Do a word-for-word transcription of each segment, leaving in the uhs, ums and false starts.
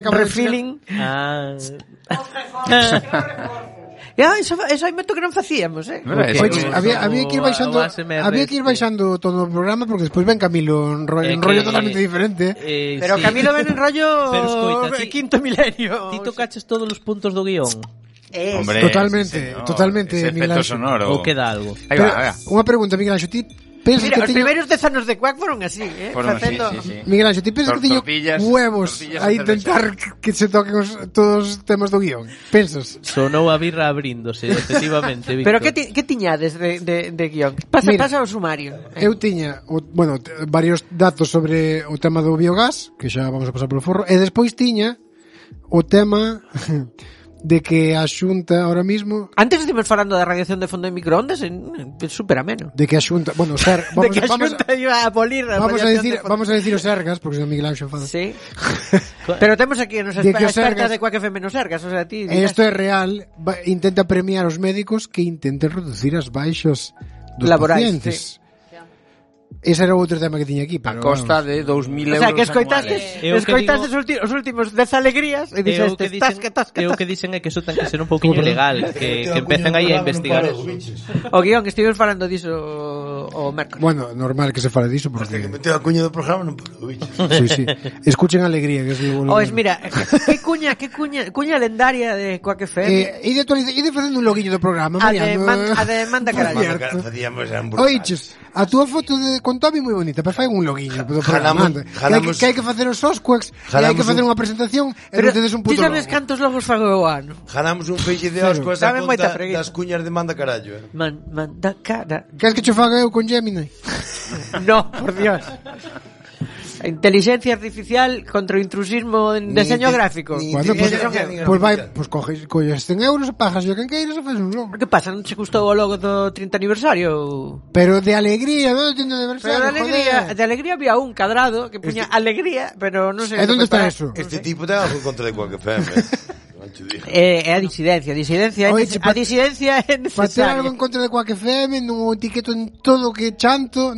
Refilling. Ah. Ya, eso, eso hai moito que non facíamos, eh. Okay. Oye, había, había que ir baixando, había que ir baixando todo o programa porque despois ven Camilo en rollo, eh, en rollo totalmente diferente. Eh, pero sí. Camilo ven en rollo pero escoita, ti, quinto milenio. Ti tocaches todos os puntos do guión. Es. Hombre, totalmente, sí, no, totalmente. Miguel Anxo. Ou queda algo. Ahí va, ahí va. Unha pregunta, Miguel Anxo, ti pensas Mira, que os teño... primeiros dez anos de Quack foron así, eh? Foron Facendo... así, sí, sí. Miguel Anxo, ti pensas Tor- que teño tortillas, huevos tortillas a intentar que se toquen os, todos os temas do guión? Pensas? Sonou a birra abríndose, efectivamente, Víctor. Pero que, ti, que tiñades de, de, de guión? Pasa, Mira, pasa o sumario. Eh. Eu tiña, o, bueno, t- varios datos sobre o tema do biogás, que xa vamos a pasar polo forro, e despois tiña o tema... de que a Xunta ahora mismo... Antes estivemos falando da radiación de fondo de microondas, é super ameno. De que a Xunta... Bueno, ser, vamos, de que a Xunta vamos, iba a abolir a vamos a decir, de vamos a decir os Sergas, porque se Miguel Anxo fala. Sí. Pero temos aquí nos de expertas Sergas, de Quack F M nos Sergas, o sea, ti... Esto é real, va, intenta premiar os médicos que intenten reducir as baixas dos laborais, pacientes. Sí. Ese era outro tema que tiña aquí, pero a costa vamos. De dous mil euros. O sea, que escoitaste, escoitaste digo, os últimos dez alegrías e dixeste, tasca, tasca, tasca. O que dicen é que eso ten que ser un pouquinho legal, que, que empecen aí a investigar. O guión, que estivemos falando diso o mércoles. Bueno, normal que se fale diso, porque... Hasta que meteu a cuña do programa non paro, bichos. Sí, sí. Escuchen alegría, que es lo bueno. Oes, mira, que cuña, que cuña, cuña lendaria de Quack F M. Eh, e de actualiza, e de facendo un loguinho do programa, a de, man, a de manda carallo. Facíamos Oiches, a túa foto de con Toby moi bonita, pero fai un loguinho do programa. Jalamos, que, hai que, que hai que facer os Osquaks, e hai que facer unha presentación, e non tedes un puto logo. Ti sabes cantos logos fago eu ano? Jalamos un feixe de Osquaks a conta das cuñas de manda carallo. Eh. Man, manda cara. Queres que cho faga eu con Gemini? No, por Dios. Inteligencia artificial contra o intrusismo en diseño gráfico. Bueno, pues, pues vai, pues coges, coges cen euros, pagas yo quen queiras e faz un logo. Que pasa? Non che custou o logo do trinta aniversario? Pero de alegría, non de aniversario. Pero de alegría, joder. De alegría había un cadrado que puña este... alegría, pero non sei. E onde está eso? Este tipo ten algo contra de Quack F M. É eh, a disidencia, a disidencia, Oye, a disidencia é necesaria. Para ter algo en contra de Quack F M, non o etiqueto en todo que chanto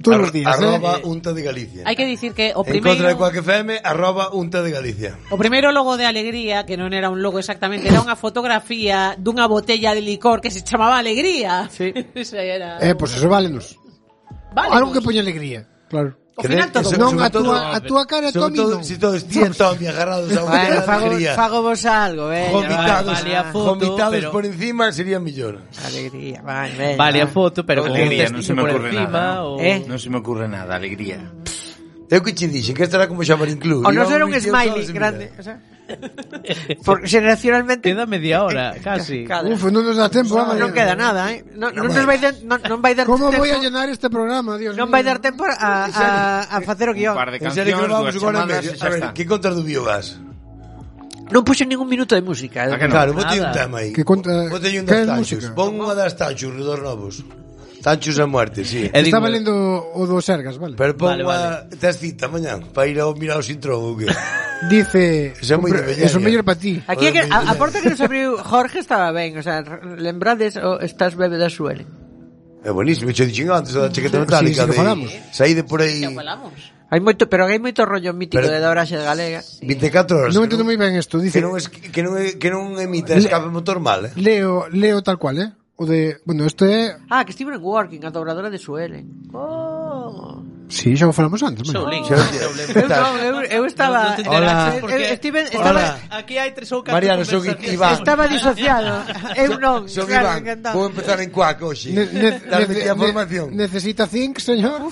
todos Ar- os días, arroba eh? Unta de Galicia. Hai que dicir que o En primeiro... contra de Quack F M, arroba Unta de Galicia. O primeiro logo de Alegría, que non era un logo exactamente, era unha fotografía dunha botella de licor que se chamaba Alegría. Sí. era... Eh, pues eso válenos. Vale, algo pues. que poña alegría, claro. O final todo. Non, a túa, a túa cara, Tommy, non. Si todos tían Tommy agarrados a unha alegría. Fago vos algo, eh. Vomitados, vale a foto, vomitados pero... por encima sería millón. Alegría, vale, venga. Vale a foto, pero con alegría, non se me ocurre nada. O... ¿Eh? Non se me ocurre nada, alegría. Eu que che dixen que estará como Xamarín Club. O non era un smiley grande, o sea... Por generacionalmente queda media hora, casi. Cada. Uf, non nos dá tempo, no, non queda nada, eh. Non no, nos vai dar non, non vai dar Como tempo. Voy a llenar este programa, Dios non mío. vai dar tempo a a a facer o guión. Un par de cancións, dúas chamadas, a ver, que contas do biogás? Non puxo ningún minuto de música. Ah, que no? Claro, botei un tema aí. Que conta Botei un das tanchos. Pon unha das tanchos, redor novos. Tanchos a muerte, sí. Estaba lendo o do Sergas, vale? Pero pon unha vale, vale. Tes cita mañán para ir a mirar o intro ou que? Dice, eso é moi de eso mellor para ti. Aquí que, a, a porta que nos abriu Jorge estaba ben, o sea, lembrades o estás bebe da Suelen. É buenísimo, che dixen antes da chaqueta metálica sí, sí, de saí de por aí. Hai moito, pero hai moito rollo mítico pero, de Doraxe de Galega. vinte e catro horas. Non entendo moi ben isto, dice que non es, que non que non emite escape motor mal, eh. Leo, leo tal cual, eh. O de, bueno, isto é... Ah, que Stephen Working, a dobradora de Suelen. Oh. Sí, xa o falamos antes, bueno. Soulin. Eu, eu, eu estaba... Hola. Steven, estaba... Aquí hai tres ou catro Mariano, son Iván. Estaba disociado. Eu non. Son Iván. Vou empezar en Quack hoxe. Darme a formación. Necesita zinc, señor.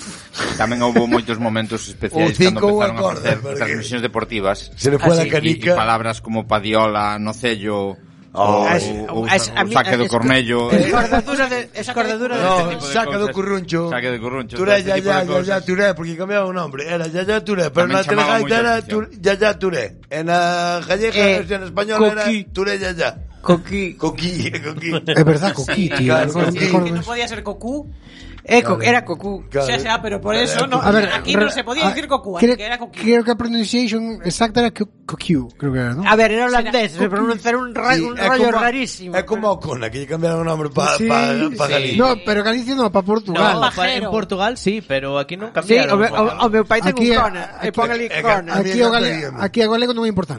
Tamén houve moitos momentos especiais cando empezaron a facer transmisións deportivas. Se le fue a la canica. E palabras como Padiola, Nocello... Oh, o, es, o, es, o saque do cornello, escordadura de escordadura de no, saca do curruncho, saque do curruncho, Turé ya ya ya ya Turé, porque cambiaba o nombre, era ya ya Turé, pero na telegaita era ya ya Turé, en la gallega versión española era Turé ya ya. Coquí. Coquí, coquí. É verdad, coquí, tío. claro, Recordo- coquí. recordo Que no eso. podía ser cocú. Eh, co- era cocú. Claro. O sea, sea, pero por eso no, A ver, aquí re- no se podía a- decir cocú, así creo, que era coquí. creo que a pronunciation exacta era co- coquí, creo que era, ¿no? A ver, era holandés, Será se pronuncia un, ra- Sí, un é rollo como- rarísimo. É como a Ocona, que lle cambiaron o nombre para Sí, pa, pa sí. Galicia. No, pero Galicia no, para Portugal. No, Pajero. en Portugal sí, pero aquí non Sí, cambiaron. o, me, o, o meu pai ten Aquí- un cona, e pon ali aquí- cona. Aquí, o gale, aquí a galego non é importante.